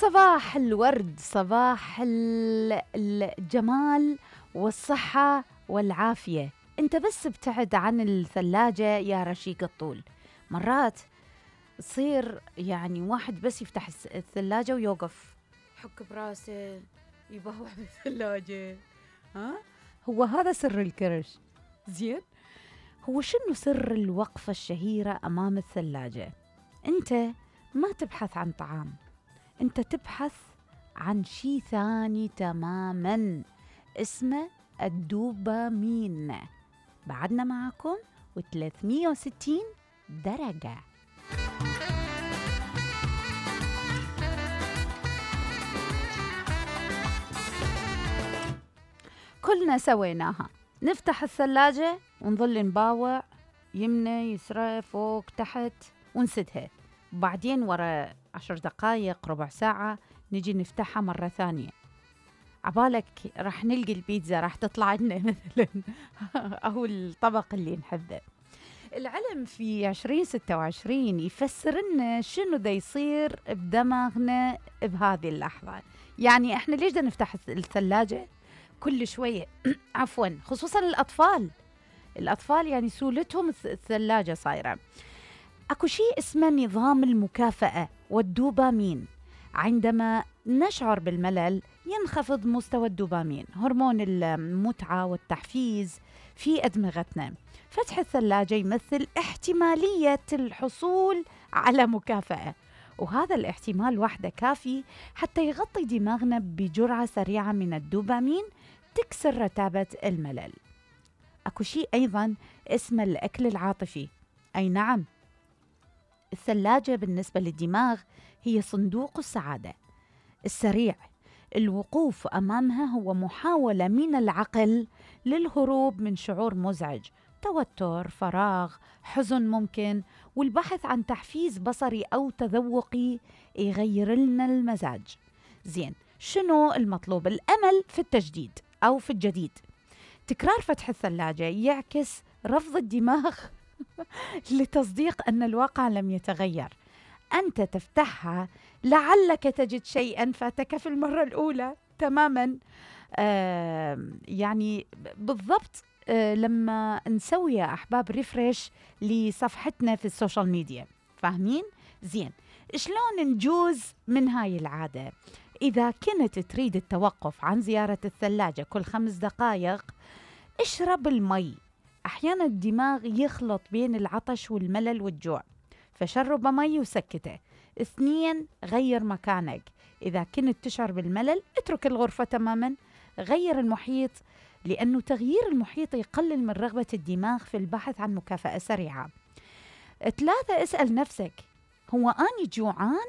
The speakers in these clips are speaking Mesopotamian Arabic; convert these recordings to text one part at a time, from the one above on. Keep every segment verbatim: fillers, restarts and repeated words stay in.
صباح الورد، صباح الجمال والصحة والعافية. انت بس ابتعد عن الثلاجة يا رشيق الطول. مرات تصير يعني واحد بس يفتح الثلاجة ويوقف حك براسه يبهوح بالثلاجة. ها هو هذا سر الكرش. زين، هو شنو سر الوقفة الشهيرة أمام الثلاجة؟ انت ما تبحث عن طعام، انت تبحث عن شيء ثاني تماما اسمه الدوبامين. بعدنا معكم وثلاثمية وستين درجة. كلنا سويناها، نفتح الثلاجة ونظل نباوع يمنى يسرى فوق تحت ونسدها، بعدين ورا عشر دقايق ربع ساعة نجي نفتحها مرة ثانية. عبالك راح نلقي البيتزا راح تطلع لنا مثلا أو الطبق اللي نحبه. العلم في عشرين ستة وعشرين يفسر لنا شنو ذا يصير بدماغنا بهذه اللحظة. يعني احنا ليش دا نفتح الثلاجة كل شوية؟ عفوا، خصوصا الأطفال الأطفال يعني سولتهم الثلاجة صايرة. أكو شيء اسمه نظام المكافأة والدوبامين. عندما نشعر بالملل ينخفض مستوى الدوبامين، هرمون المتعة والتحفيز في أدمغتنا. فتح الثلاجة يمثل احتمالية الحصول على مكافأة، وهذا الاحتمال وحده كافي حتى يغطي دماغنا بجرعة سريعة من الدوبامين تكسر رتابة الملل. أكو شيء أيضا اسمه الأكل العاطفي. أي نعم، الثلاجة بالنسبة للدماغ هي صندوق السعادة السريع. الوقوف أمامها هو محاولة من العقل للهروب من شعور مزعج، توتر، فراغ، حزن ممكن، والبحث عن تحفيز بصري أو تذوقي يغير لنا المزاج. زين، شنو المطلوب؟ الأمل في التجديد أو في الجديد. تكرار فتح الثلاجة يعكس رفض الدماغ لتصديق أن الواقع لم يتغير. أنت تفتحها لعلك تجد شيئا فاتك في المرة الأولى تماما. آه يعني بالضبط. آه لما نسوي يا أحباب ريفريش لصفحتنا في السوشيال ميديا، فاهمين؟ زين، شلون نجوز من هاي العادة؟ إذا كنت تريد التوقف عن زيارة الثلاجة كل خمس دقائق، اشرب المي. أحيانا الدماغ يخلط بين العطش والملل والجوع، فشرب مي وسكته. اثنين، غير مكانك. إذا كنت تشعر بالملل اترك الغرفة تماما. غير المحيط، لأنه تغيير المحيط يقلل من رغبة الدماغ في البحث عن مكافأة سريعة. ثلاثة، اسأل نفسك، هو أني جوعان؟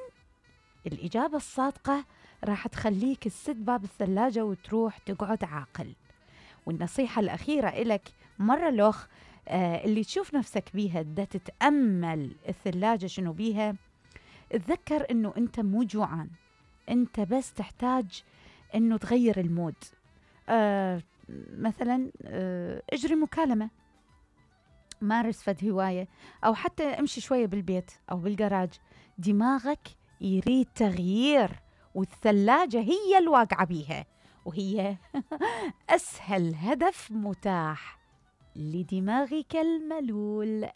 الإجابة الصادقة راح تخليك تسد باب الثلاجة وتروح تقعد عاقل. والنصيحة الأخيرة إلك مرة لوخ، آه اللي تشوف نفسك بيها دا تتأمل الثلاجة شنو بيها، تذكر إنه أنت مو جوعان، أنت بس تحتاج إنه تغير المود. آه مثلا آه اجري مكالمة، مارس فد هواية، أو حتى امشي شوية بالبيت أو بالجراج. دماغك يريد تغيير، والثلاجة هي الواقعة بيها، وهي أسهل هدف متاح لدماغك الملول.